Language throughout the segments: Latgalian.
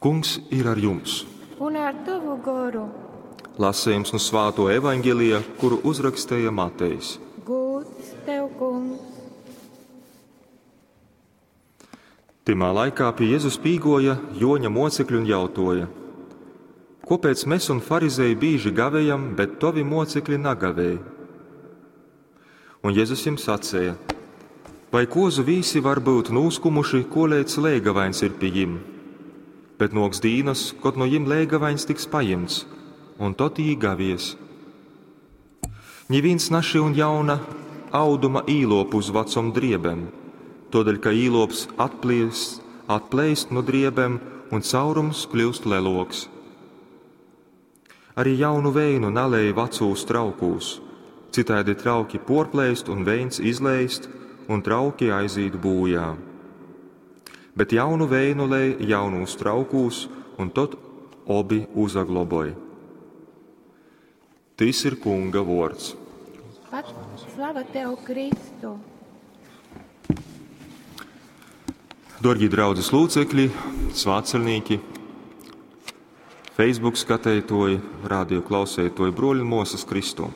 Kungs ir ar jums! Un ar tovu goru. Lasījums no Svāto evaņģelija, kuru uzrakstīja Matejs. Gūds tev, kungs! Tymā laikā pie Jēzus pīgoja Joņa mocekļi un jautoja: Kopēc mēs un farizēji bīži gavējam, bet tovi mocekļi nagavēj? Un Jēzus jiem sacēja: Vai kozu vīsi var būt nūskumuši, kolēc lēgavains ir pie jim? Bet noks dīnas, kod no jim lēgavains tiks pajimts, un tot jī gavies. Ņivīns našyun jauna auduma īlopu uz vecom driebem, todēļ, ka īlops atpliest, atplēst no driebem un caurums kļūst leloks. Arī jaunu veinu nalēj vecūs traukūs, citādi trauki porplēst un veins izleist, un trauki aizīt būjā. Bet jaunu veinu lej jaunūs traukūs, un tot obi uzagloboj. Tys ir Kunga vords. Pat slava tev, Kristu! Dārgie draudzes locekļi, svātceļnieki, Facebook skatītāji, radio klausētoji, broļi un mosas Kristū.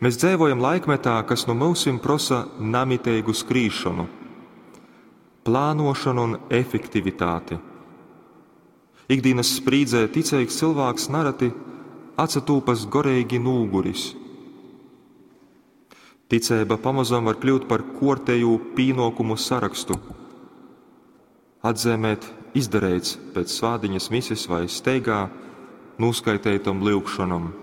Mēs dzīvojam laikmetā, kas no mūsim prosa namiteigu skrīšanu, plānošanu un efektivitāti. Ikdienas sprīdzē ticīgs cilvēks narati atsatūpas goreigi nūguris. Ticība pamazam var kļūt par kortēju pīnokumu sarakstu. Atzīmēt izdarīts pēc svādiņas mises vai steigā noskaitētam lūgšanam.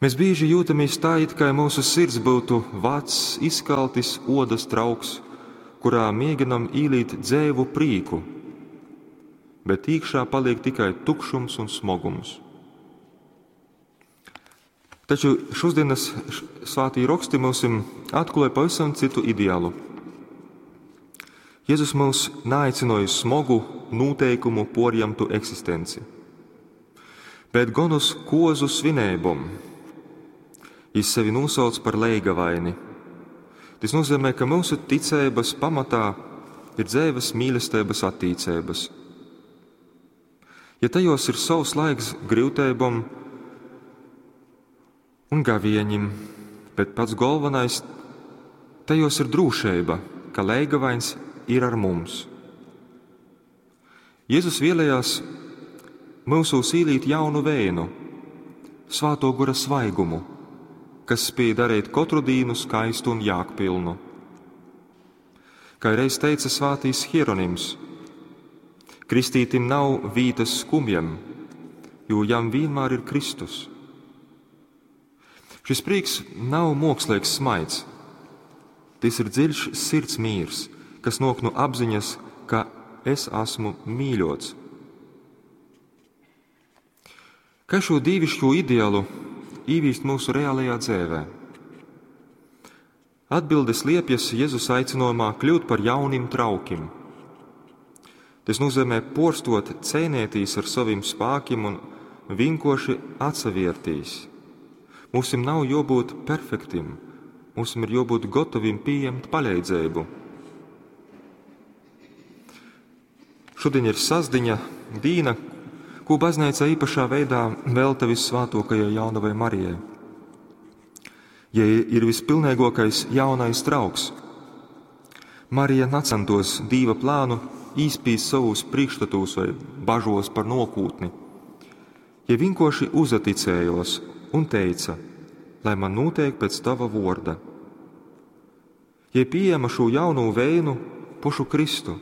Mēs bieži jūtamies tā, it kā mūsu sirds būtu vecs, izkaltis odas trauks, kurā mēģinam īlīt dzēvu prīku, bet iekšā paliek tikai tukšums un smogums. Taču šodienas svētī raksti mums atklāja pavisam citu ideālu. Jēzus mūs neaicināja uz smogu, noteikumu porjamtu eksistenci, bet gan uz kozu svinībom. Jis sevi nosauc par leigavaini. Tas nozīmē, ka mūsu ticības pamatā ir dzīves mīlestības attīcības. Ja tajos ir savs laiks grūtībom un gavieņim, bet pats galvenais tajos ir drūšība, ka leigavains ir ar mums. Jēzus vēlējās mūsos īlīt jaunu vēnu, svāto gora svaigumu, kas spēj darīt katru dīnu skaistu un jāgpilnu. Kā reiz teica svātīs Hieronyms, kristītim nav vītas skumjam, jo jam vienmēr ir Kristus. Šis prieks nav mākslīgs smaids. Tas ir dziļš sirds mīrs, kas nāk no apziņas, ka es esmu mīļots. Kā šo dīvišķo ideālu īvīst mūsu reālajā dzēvē? Atbildes liepjas Jēzus aicinājumā kļūt par jaunim traukim. Tas nozīmē porstot, cēnētīs ar saviem spākiem un vienkoši atsaviertīs. Mums nav jābūt perfektim, mums ir jābūt gatavim pieņemt palīdzību. Šodien ir sasdiņa dīna, ko baznīca īpašā veidā velta vissvētākajai jaunavai Marijai. Ja ir vispilnīgākais jaunais trauks, Marija necentos dīva plānu īspīst savus priekšstatus vai bažos par nokūtni. Ja vienkārši uzaticējos un teica, lai man notiek pēc tava vorda. Ja pieejama šo jaunu vēnu, pošu Kristu,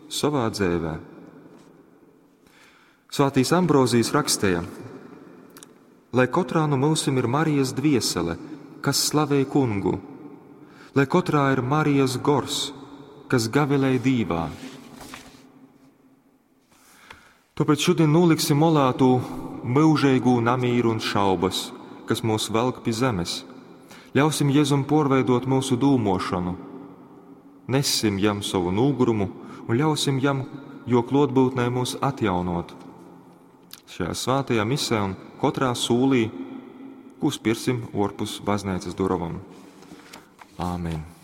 savā dzēvē. Svētīs Ambrozijs rakstīja, lai katrā no mūsim ir Marijas dviesele, kas slavē kungu, lai katrā ir Marijas gors, kas gavilē dīvā. Tāpēc šodien noliksim molā tū mūžīgu namīru un šaubas, kas mūs velk pie zemes. Ļausim Jēzum porveidot mūsu dūmošanu. Nessim jam savu nūgurumu un ļausim jam, jo klotbūtnē mūs atjaunot. Šajā svētajā misē un katrā sūlī, ko spirsim orpus baznīcas duravam. Āmen!